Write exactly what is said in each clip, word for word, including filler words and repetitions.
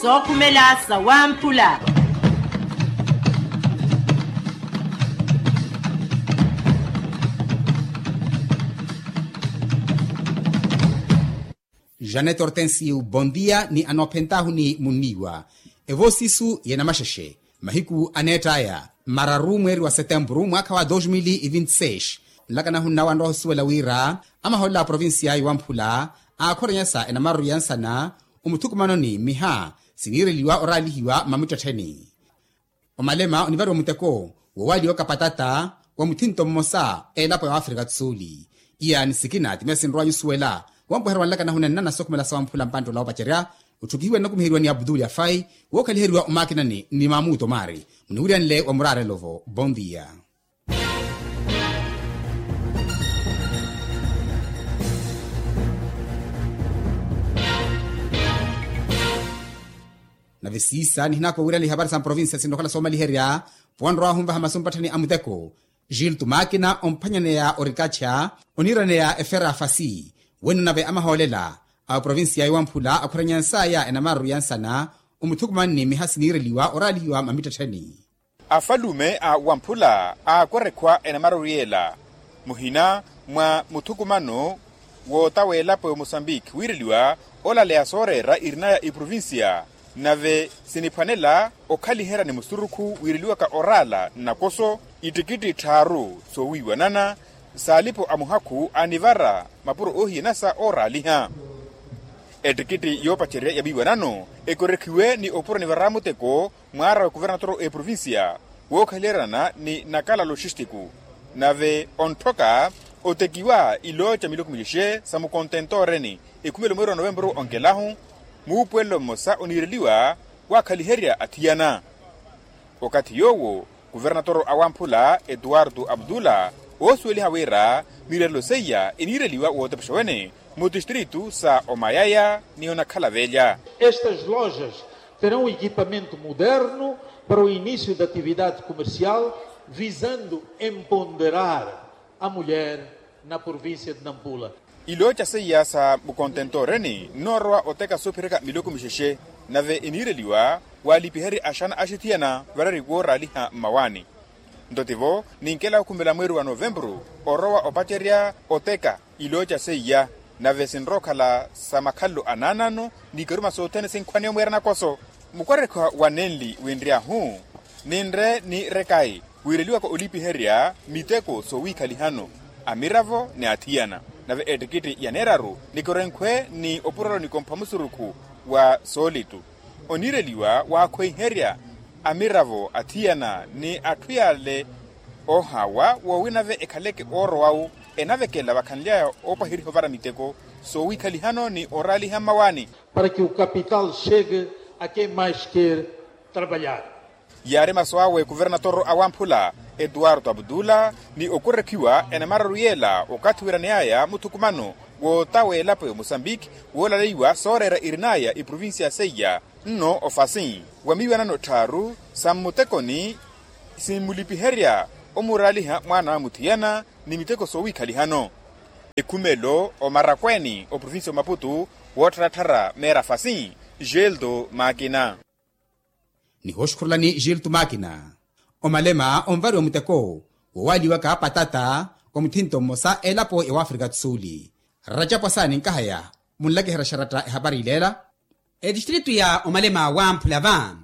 Sookhumela sawamphula. Janet hortensio bondia ni anoophentaahu ni munniiwa. Evoosisu y'enamaxexe mahiku aneett'aya mararu mweeri wa setempuru mwaakha wa dos mil e vinte seis. Nlakanahu nnawanrowa osuwela wira amahoolela a provincia y'owamphula aakhoronyasa enamaru ya nsana omuthukumanoni mmiha siniireliwa oraalihiwa mmamittettheni. Omalema onivariwa muteko wowaaliwaka patata wa muthinto mmosa elapo ya wafrika do sul. Iya ni sikina timesi nrowa nyusuwela wampweherwa nlaka nahuna nnana sookhumela sawamphula mpantt'ola woopacerya otthukihiwa nnakumiheriwa ni abdul afai wookhaliheriwa omakinani ni mamuto mari muniwiryanle wa muraarelo-vo bondia. Nave siisa nihinaka owirani ihapari sa mprovincia sinrokhala soomaliherya ponrowa ahunvaha masu mpatthani a muteko. Gilto makina omphwanyaneya orikacha oniiraneya efera fasi wenno nave amahoolela a oprovincia y'owamphula akhuranya nsaya enamaru ya nsana omuthukumanni miha siniireliwa oraalihiwa mamittettheni. Afalume a wamphula aakwerekhwa enamaru yela muhina mwa muthukumano wootawa elapo ya omosambiki wiireliwa olaleya sooreera irinaya iprovincia. Nave siniphwanela okhaliherya ni musurukhu wiireliwaka oraala nnakoso ittikitti tthaaru soowiiwanana saalipo a muhakhu anivara mapuro oohiyanasa ooraaliha. Ettikitti yoopacerya ya miiwanano ekorekhiwe ni opuro nivara muteko mwaara wa kuvernatoro a eprovincia wookhaliheryana ni nakala loxistiku. Nave ontthoka otekiwa ilooca miloko milexe sa mukontentoreni ekhumelo mweeri wa novempuru onkelahu muupuwelo mmosa oniireliwa waakhaliherya athiyana. Okathi yoowo kuvernatoro awamphula etuwartu abdula oosuweliha wira miirelo seiya eniireliwa wootepexa wene mu tistritu sa omayaya ni onakhala velya. Estas lojas terão equipamento moderno para o início da atividade comercial visando emponderar a mulher na província de nampula. Ilooca seiya sa mukontentoreni nnoorowa oteka soophereka miloko mixexe nave eniireliwa waalipiherye axana axithiyana varari wooraaliha mmawaani. Nto tivo ninkela okhumela mweeri wa novempuru orowa opacerya oteka ilooca seiya nave sinrowa okhala sa makhalelo anaanano ni ikaruma sothene sinkhwaneya omweera nakoso. Mukwarekha wa nenli winry'ahu ninre ni rekayi wiireliwaka olipiherya miteko soowiikhalihano amiravo ni athiyana. Nave ettikitti ya neeraru nikorenkhwe ni opurelo nikompha musurukhu wa soolitu oniireliwa waakhweiherya amiravo athiyana ni atthu yaale oohaawa woowina nave ekhaleke oorowawu enavekela vakhanly'aya oopaheriha ovara miteko soowiikhalihano ni oraaliha mmawaani. Para que o capital chegue a quem mais quer trabalhar. Yaari masu awe kuvernatoro awamphula etuwarto abdula ni okurekhiwa enamararu yeela okathi wiraney'aya muthukumano wootawa elapo ya mosambiki woolaleiwa sooreera irin'aya iprovincia seiya nno ofasi wa miiwanano tthaaru sa mmutekoni simmulipiherya omuraaliha mwaana wa muthiyana ni miteko soowiikhalihano. Ekhumelo omarakweeni oprovincia omaputu woottharattharya meera fasi gelto makina. Nihooxukhurulani gelto makina omalema onvariwa muteko wowaaliwaka patata wa muthinto mmosa elapo ya wafrika do sul. Racapwasani nkahaya munlakiherya xaratta ehapari ileela. Etistritu ya omalema wamphula va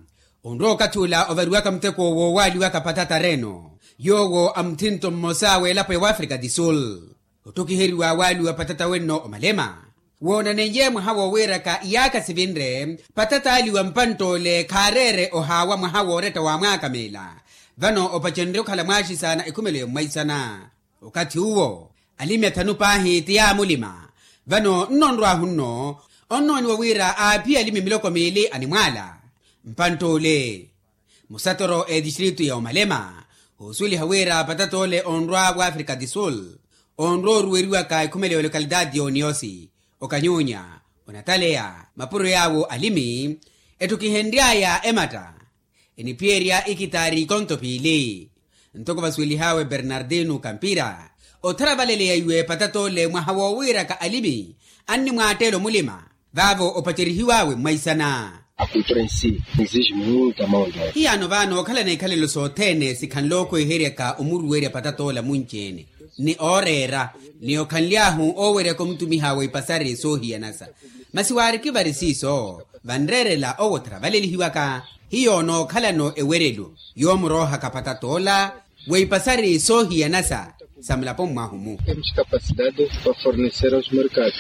onrowa okathi ula ovariwaka muteko woowaaliwaka patata reno yoowo a muthinto mmosa w'elapo ya wafrika do sul. Otthokiheriwa waaliwa patata wenno omalema woonaneiye mwaha woowiiraka iyaakha sivinre patata aaliwa mpantt'ole khaareere ohaawa mwaha wooretta wa mwaaka meela. Vano opacenrye okhala mwaaxisaana ekhumelo ya mmwaisana. Okathi uwo alimi athanu paahi ti yaamulima. Vano nnonrw'ahu nno onnooniwa wira aaphiya alimi miloko miili animwaala mpantt'ole. Musatoro a etistritu ya omalema oosuweliha wira patata ole onrwa w'afrika do sul onrwa oruweriwaka ekhumelo ya olokalitaati y'oniosi okanyunya onataleya mapuro yaawo alimi. Ettokihenry'aya ematta eniphiyerya ikitaari ikonto piili. Ntoko vasuwelih'awe bernardino kampira otharavaleleyaiwe patata ole mwaha woowiiraka alimi annimwaatteela omulima vaavo opacerihiw'awe mmwaisana. A cultura em si exige muita mão de obra. Hiyaano vaano okhalana ikhalelo sothene sikhanle okhweheryaka omuruwerya patatoola munci-ene ni ooreera ni okhanly'ahu ooweryaka omutumiha wa ipasari soohiyanasa. Masi waariki vari siiso vanreerela owo otharavalelihiwaka. Hiyo nookhalano ewerelo yoomuroohaka patatoola wa ipasari soohiyanasa sa mulapo mmwahu-mu. Temos capacidade para fornecer aos mercados.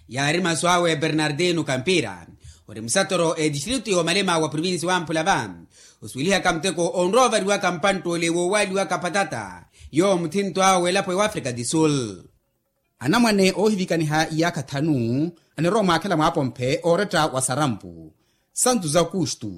Yaari masu awe bernardino kampira ori musatoro etistritu yoomalema wa provinsi wamphula va osuwelihaka muteko onrowa ovariwaka mpantt'ole woowaaliwaka patata. Yowo muthinto awe w'elapo ya afrika di sul. Anamwane oohivikaniha iyaakha thanu anirowa mwaakhela mwaapomphe ooretta wa sarampu santu za kustu.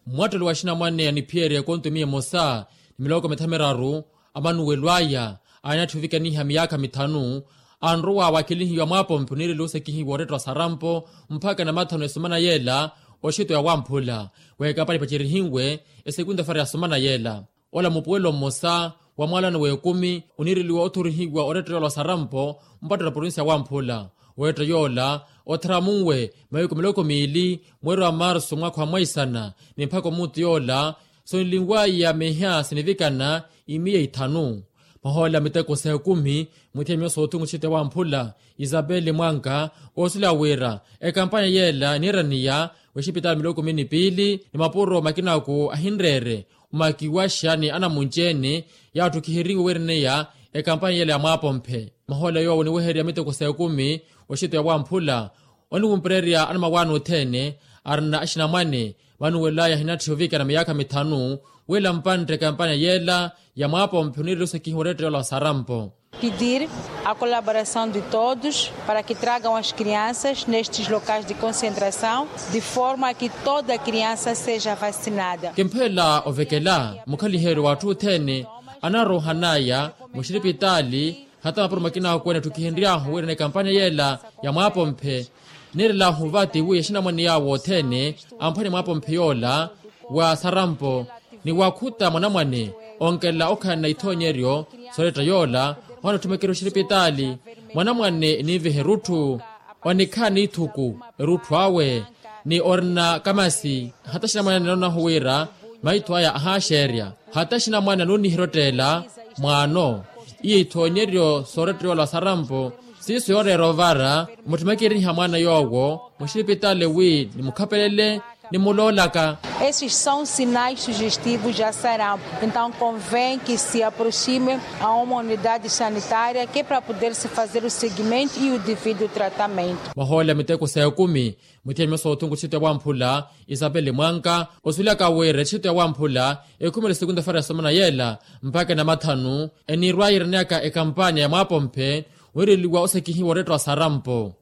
Mwattelo wa axinamwane aniphiyerya ekontomi emosa ni miloko mithamiraru amanuwelo aya aanatthivikaniha miyaakha mithanu anrowa wakhelihiwa mwaapompe oniireliwa osekihiwa orettwa sarampo mpakha namathanu esomana yeela oxito ya wamphula w'ekampani ipacerihiwe esekunta fara ya somana yeela. Ola mupuwelo mmosa wa mwaalano w'ekumi oniireliwa othorihiwa orettwa yola sarampo mpatto na provinsi ya wamphula. Weetta yoola otharamunwe mahiku miloko miili mweeri wa marsu mwaakha wa mwaisana ni mpakha omuutu yoola sonlinwaya miha sinivikana imiya ithanu. Mahoolela miteko sa ekumi muthiya myosa othungu txite wamphula isapeli mwanka oosuleya wira ekampanya yeela eniiraniya wexipitaali miloko kumi ni piili ni mapuro makinaku ahinreere omakiwaxa ni anamunci-ene yaatthukiheriwe wiiraneya ekampanya yeela ya mwaapomphe. Mahoolela yoowo oniwehererya miteko sa ekumi oxito ya wamphula oniwumpererya anamawaani othene arina axinamwane vanuwelaya ahinatthiha ovikana miyaakha mithanu wila mpantte ekampanya yeela ya mwaapomphe oniireliwa osekihiwa orettwa yola sarampo. Pedir a colaboração de todos para que tragam as crianças nestes locais de concentração de forma que toda criança seja vacinada. Kimphelela ovekela mukhaliheryo w'atthu othene anaroohanaya muxiripitaali hata mapuro makinaku ene atthukihenry'ahu wiirana ekampanya yeela ya mwaapomphe. Niirel'ahu vati wi axinamwane yaawo othene amphwanye mwaapomphe yoola wa sarampo ni wakhuta mwanamwane onkelela okhalana ithoonyeryo sooretta yoola ohana otthumekerya oxiripitaali. Mwanamwane eniiviha erutthu onikhala n'ithuku erutthu awe ni orina kamasi hata axinamwane anoonahu wira maitho aya ahaaxeerya hata axinamwane anooniherya otteela mwaano. Iyo ithoonyeryo soorettwa yoola sarampo siiso yooreera ovara mutthumekeriha mwaana yoowo muxiripitaali wi nimukhapelele nimuloolaka. Esses são sinais sugestivos de sarampo, então convém que se aproxime a uma unidade sanitária que para poder se fazer o seguimento e o devido tratamento. Mahoolela miteko sa ekumi muthiya myosa othunku txite wamphula isapeli mwanka osuwelaka wira etxito ya wamphula ekhumela esekunta fara ya somana yeela mpakha enamathanu eniirwaya iraneyaka ekampanya ya mwaapomphe wiireliwa osekihiwa orettwa sarampo.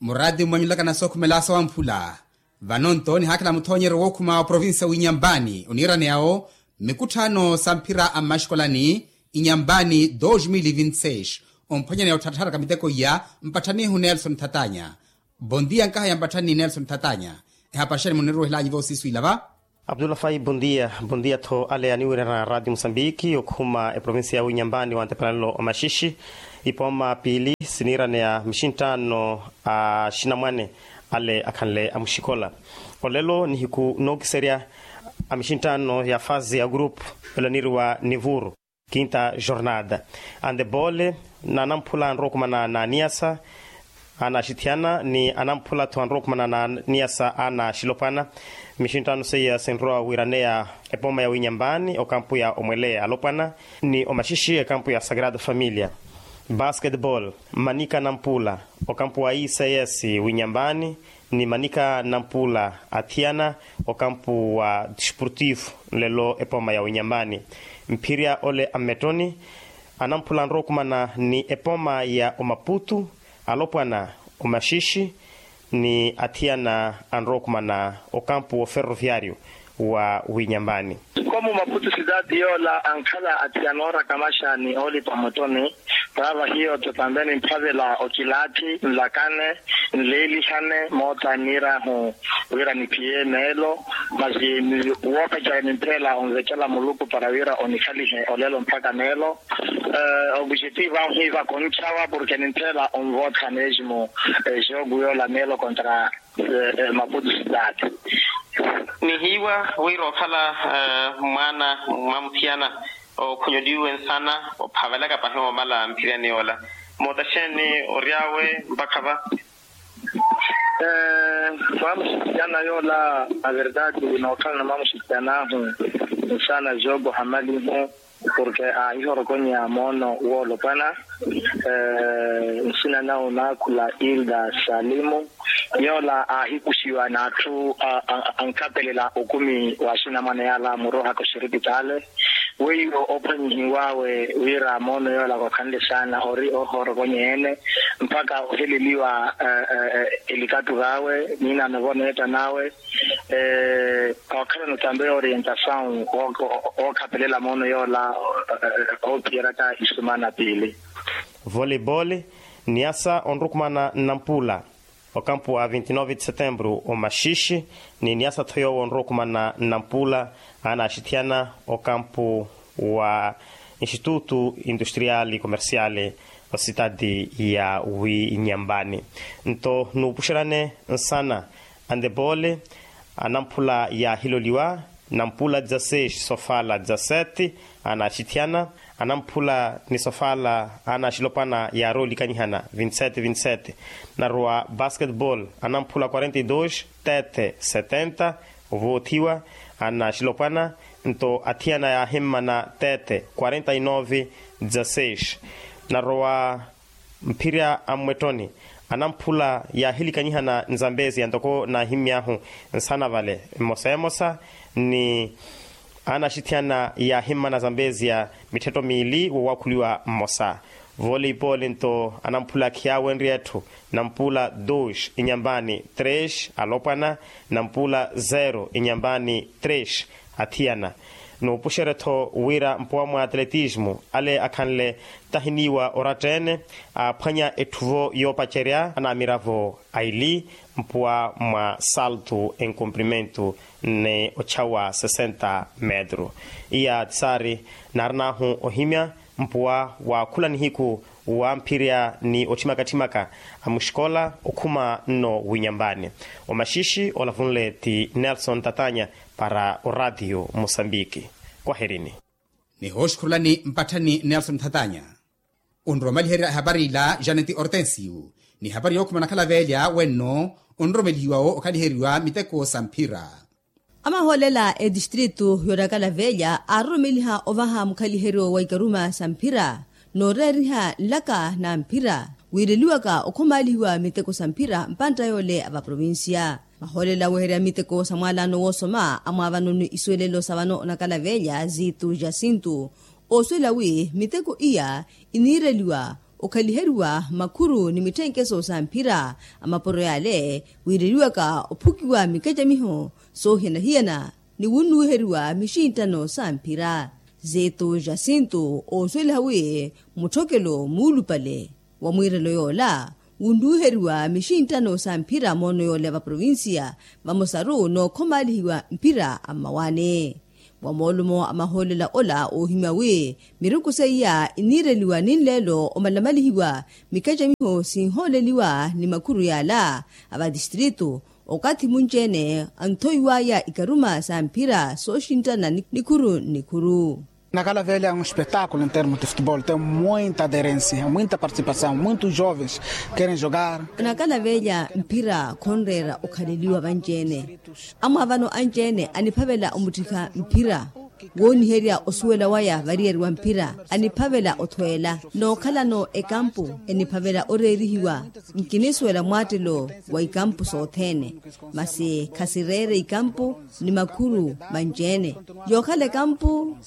Muraati mmwanyulaka na sookhumela sa wamphula vano nto nihaakhela muthoonyeryo wookhuma wa provinsi ya winyambani oniiraneya-wo mmikutthaano sa mphira a mmaxikolani inyambani dos mil vinti seis. Omphwanyaneya otthattharaka miteko iya mpatthanihu nelson thatanya. Bondia nkahaya mpatthani nelson thatanya. Ehapari xani muniruwehel'anyu vosiiswiila va. Abdullah fai bondia bondia-tho ale aniwirana radio musambiki okhuma eprovinsi ya winyambani wa ntepanelo omaxixi. Ipooma piili siniiraneya mixinttaano a axinamwane ale akhanle amuxikola. Olelo nihiku nookiserya a mixinttaano ya fase ya grupu elo aniiriwa nivuru kinta jornada. Andebole na anamphula anrowa okumana na aniyasa ana axithiyana ni anamphula-tho anrowa okumana na aniyasa ana axilopwana. Mixinttaano seiya sinrowa wiiraneya epooma ya winyambani okampu ya omwele alopwana ni omaxixi ekampu ya sagrada familia. Basketball manika nampula okampu wa ics winyambani ni manika nampula athiyana okampu wa disportivo nlelo epooma ya winyambani. Mphirya ole ammettoni anamphula anrowa okumana ni epooma ya omaputu alopwana omaxixi ni athiyana anrowa okumana okampu woferroviario wa winyambani. Komu maputu sidati yoola ankhala athiyana ooraka maxani oolipa motoni. Taava hiyo-tho tambeni mphavela okilaathi nlakane nleelihane moota niirahu wira niphiye meelo. Masi woopeca nimphela onvekela muluku para wira onikhalihe olelo mpakha meelo. Obuxetivo ahu hiva konchawa porke ninthela onvootha mesmo jogu yoola meelo kontra Maputu sitati. Nihiiwa wira okhala mwaana mwa muthiyana okhonyoliwe nsana ophavelaka pahi omala mphiriyani yoola. Moota xeeni ory'awe mpakha va? Mwamuxitiyana yoola na verdade nookhalana mwamuxitiyan'ahu nsana jogo hamalihu. Porke aahihorokonyeya moono woolopwana. Nsina nawe onaakhula ilda salimu yoola aahikuxiwa n'atthu ankhapelela okumi wa axinamwane yaala murohaka oxiripitaale. Weiwo ophwanyihiw'awe wira moono yoola khwakhanle saana ori ohorokonyeya-ene mpakha oheleliwa elikattu v'awe niinaano voneetta n'awe. Ookhalana otambe orientasawu ookhapelela moono yoola oophiyeryaka isumana piili. Voleibole. Niyasa onrukumana nnampula okampu wa vinti nove de setembru omaxixi ni niyasa-tho yoowo onrukumana nnampula aanaxithiyana okampu wa institutu industriali komersiali ositati ya winyambani. Nto nuupuxeryane nsana andebole anamphula yaahiloliwa nampula dezaseix sofala dezasete aanaxithiyana anamphula ni sofala aanaxilopwana yaaroolikanyihana vintisete vintisete. Narowa basketball anamphula quarenta e dos tete setenta ovoothiwa aanaxilopwana nto athiyana yaahimmana tete quarenta e nove dezaseix. Narowa mphirya a mmwetthoni anamphula yaahilikanyihana nzambezia ntoko naahimmy'ahu nsana vale mmosa emosa ni aanaxithiyana yaahimmana zambezia mitthetto miili woowaakhuliwa mmosa. Voleibole nto anamphula khiyaawenrye etthu nampula dos inyambani tres alopwana nampula zero inyambani tres athiyana. Nuupuxerye-tho wira mpuwa mwa atletismu ale akhanle tahiniiwa oratta-ene aaphwanya etthuvo yoopacerya anaamiravo aili mpuwa mwa saltu enkumprimentu ni ochawa sesenta metru. Iya tisaari naarin'ahu ohimya mpuwa wa khula nihiku wa mphirya ni otthimaka-tthimaka a muxikola okhuma nno winyambani. Omaxixi olavunle ti nelson tatanya para oraatiyo musambiki. Kwaherini. Nihooxukhurulani mpatthani nelson thatanya. Onromaliherya ehapari ila janeti hortensio ni ehapari yookhuma nakhala veelya wenno onromelihiwa-wo okhaliheriwa miteko sa mphira. Amahoolela etistritu yoonakala veelya aaroromeliha ovaha mukhaliheryo wa ikaruma sa mphira nooreeriha nlaka na mphira wiireliwaka okhomaalihiwa miteko sa mphira mpantta yoole a vaprovincia. Mahoolela aweherya miteko sa mwaalaano woosoma amwaavanoni isuwelelo sa vano onakala veelya ziitu jasintu oosuwela wi miteko iya iniireliwa okhaliheriwa makhuru ni mitthenkeso sa mphira a mapuro yaale wiireliwaka ophukiwa mikacamiho soohiyana-hiyana ni wunnuwiheriwa mixinttano sa mphira. Zeeto jasinto oosuweliha wi mutthokelo muulupale wa mwiirelo yoola wunnuwiheriwa mixinttano sa mphira moono yoola ya vaprovincia vamosaru nookhomaalihiwa mphira a mmawaani. Wa moolumo a mahoolela ola oohimya wi miruku seiya iniireliwa ninleelo omalamalihiwa mikacamiho sinhooleliwa ni makhuru yaala a vatistritu okathi munci-ene anthoiwaya ikaruma sa mphira sooxinttana nikhuru nikhuru. Nakala velha é um espetáculo em termos de futebol, tem muita aderência, muita participação, muitos jovens querem jogar. Nakala velha mphira khonreera okhaleliwa vanci-ene. Amwaavano anci-ene aniphavela omuttikha mphira wooniherya osuwela waya variyari wa mphira aniphavela othweela nookhalano ekampu eniphavela oreerihiwa. Nkinisuwela mwaattelo wa ikampu sothene masi khasireere ikampu ni makhuru manci-ene. Yookhala ekampu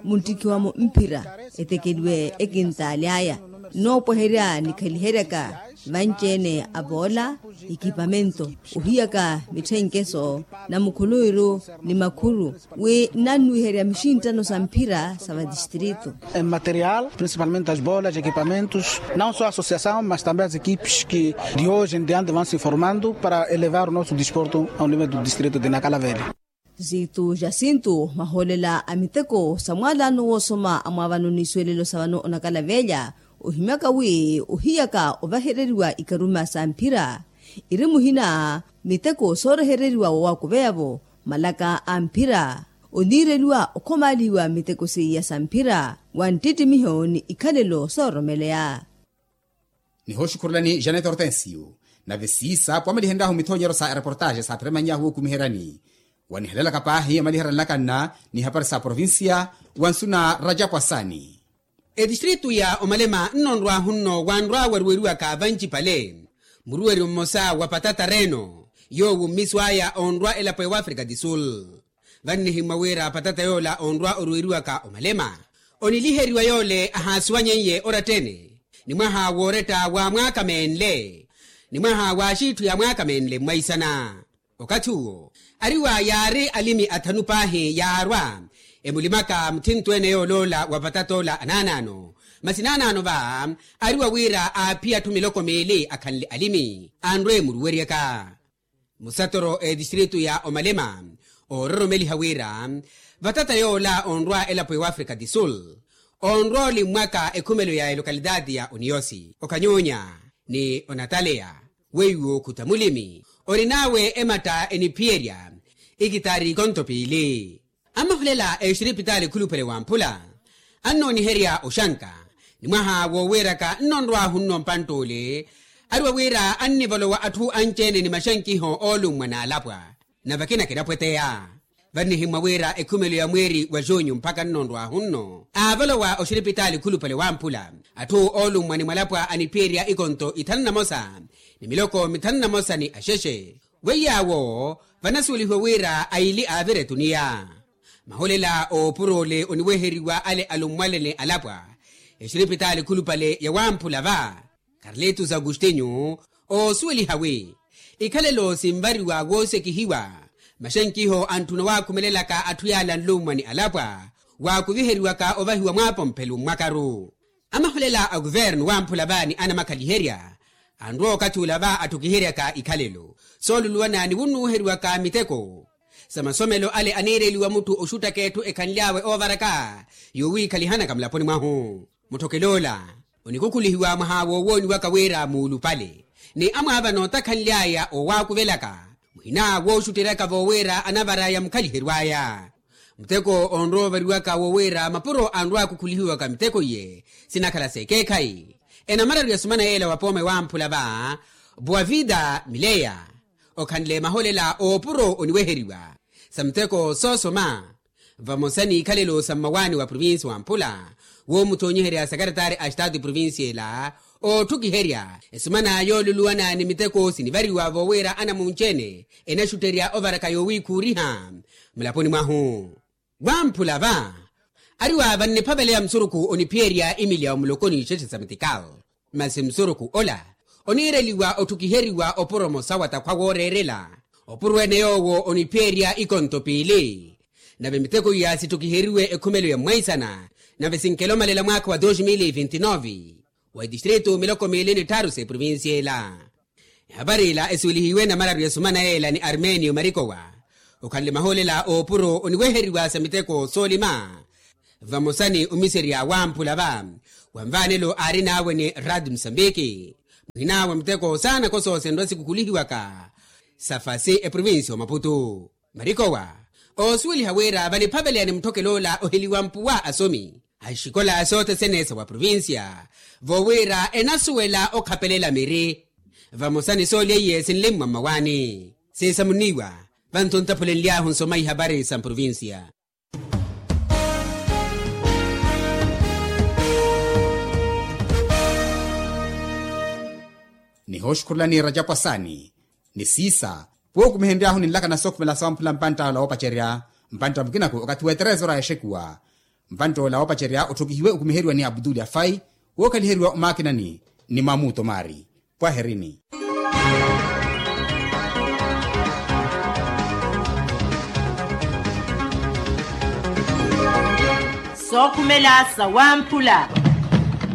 munttikhiwamo mphira etekeliwe ekintaali aya noopweherya nikhaliheryaka vanci-ene avoola ekipamento ohiyaka mitthenkeso na mukhuluwiru ni makhuru wi nnannuwiherya mixinttano sa mphira sa vatistritu. Em material principalmente as bolas equipamentos, não só a associação mas também as equipes que de hoje em diante vão se formando para elevar o nosso desporto ao nível do distrito de nakala velha. Zitu jasintu mahoolela a miteko sa mwaalano woosoma a mwaavano n'isuwelelo sa vano onakala velha ohimyaka wi ohiyaka ovahereriwa ikaruma sa mphira Iri muhina miteko soorehereriwa wa waakuveya-vo malaka a mphira oniireliwa okhomaalihiwa miteko seiya sa mphira wa nttittimiho ni ikhalelo sooromeleya. Nihooxukhurelani janet hortensio nave siisa pwamalihenryahu mithoonyeryo sa ereportaaxe saaphira mannyahu wookumiheryani wanihelelaka paahi omaliherya nlakanna ni hapari sa provincia wa nsu na rajapwasani. Etistritu ya omalema nnonrwahu nno wanrwa waruweriwaka vancipale muruweryo mmosa wa patata reno yoowo mmiso aya onrwa elapo ewafrika di sul. Vannihimmwa wira patata yoola onrwa oruweriwaka omalema oniliheriwa yoole ahaasiwanyeiye orattene ni mwaha wooretta wa mwaaka meenle ni mwaha wa axiitthu ya mwaaka meenle mmwaisana. Okathi uwo ariwa yaari alimi athanu paahi yaarwa emulimaka mutthintweene yooloola wa patata ola anaanaano masi naanaano va ariwa wira aaphiya atthu miloko miili akhanle alimi anrwe muruweryaka. Musatoro etistritu ya omalema oororomeliha wira vatata yoola onrwa elapo ewafrika di sul onrwa olimmwaka ekhumelo ya elokalitaati ya oniyosi okanyoonya ni onataleya weiwo khuta mulimi orin'awe ematta eniphiyerya ikitaari ikonto piili. Amahulela exiripitaali khuluphale wamphula annooniherya oxanka ni mwaha woowiiraka nnonrwahu nno mpantt'ule ariwa wira annivolowa atthu anci-ene ni maxankiho oolummwa n'alapwa nave akina kinapweteya. Vannihimmwa wira ekhumelo ya mweeri wa junyu mpakha nnonrwahu nno aavolowa oxiripitaali khuluphale wamphula atthu oolummwa ni mwalapwa aniphiyerya ikonto ithanu na mosa ni miloko mithanu na mosa ni axexe. Weiy'awo vanasuwelihiwa wira aili aavira etuniya. Maholela oopur'ole oniweheriwa ale alummwale ni alapwa exiripitaali khulupale ya wamphula va karlitus agustinyu oosuweliha wi ikhalelo sinvariwa woosekihiwa maxankiho antthuna waakhumelelaka atthu yaala nlummwa ni alapwa waakuviheriwaka ovahiwa mwaapomphelu mmwakaru. Amaholela a kuvernu wamphula va ni anamakhaliherya anrwa okathi ula va atthukiheryaka ikhalelo sooluluwana ni wunnuwiheriwaka miteko sa masomelo ale aniireliwa mutthu oxuttaka etthu ekhanly'awe oovaraka yoowiikhalihanaka mulaponi mwahu. Mutthokel'ola onikukhulihiwa mwaha woowooniwaka wira muulupale ni amwaavana otakhanly'aya oowaakuvelaka muhina wooxutteryaka voowira anavar'aya mukhaliheryo aya. Muteko onrowa ovariwaka wo wira mapuro anrwa akukhulihiwaka miteko iye sinakhala s'ekeekhayi. Enamararu ya sumana yeela wa pooma ewamphula va bwavida mileya okhanle maholela oopuro oniweheriwa sa miteko soosoma vamosa n'ikhalelo sa mmawaani wa provinsi wamphula woomuthoonyiherya sakaratari a estatu eprovinsi ela ootthukiherya esumana yooluluwana ni miteko sinivariwa voowira anamunci-ene enaxutterya ovaraka yoowiikhuuriha mulaponi mwahu. Wamphula va ariwa vanniphaveleya musurukhu oniphiyerya imilya omuloko n'ixexe sa mitikal masi musurukhu ola oniireliwa otthukiheriwa opuro mosa wa takhwa wooreerela opuro ene yoowo oniphiyerya ikonto piili. Nave miteko iya sitthukiheriwe ekhumelo ya mwaisana nave sinkelomalela mwaakha wa dos mil e vinti nove wa etistritu miloko miili ni tthaaru s'eprovinsi ela. Ehapari ila esuwelihiwe namararu ya sumana yeela ni armenio marikowa okhanle mahoolela oopuro oniweheriwa sa miteko soolima vamosa ni omiserya wamphula va wa nvaanelo aarin'awe ni rad musambiki muhina wa miteko saana kosoosenrwa sikukhulihiwaka sa fasi eprovinsi omaputu. Marikowa oosuweliha wira vaniphaveleya ni mutthokel'ola oheliwa mpuwa asomi a ixikola sothene sa wa provincia voowira enasuwela okhapelela miri vamosa ni soolya iye sinlimmwa mmawaani. Siisamuniwa vanthu ntaphulenly'ahu nsoma ihapari sa mprovincia. Nihooxukhurulani rajapwasani ni siisa pwookumihenry'ahu ninlakana sookhumela sawamphula mpantta ola woopacerya mpantta mukinaku okathi w'eterezoro a exekuwa. Mpantta ola woopacerya otthokihiwe okumiheriwa ni abduli afai wookhaliheriwa omaakinani ni mamuto maari. Pwaherini. Sookhumela sawamphula.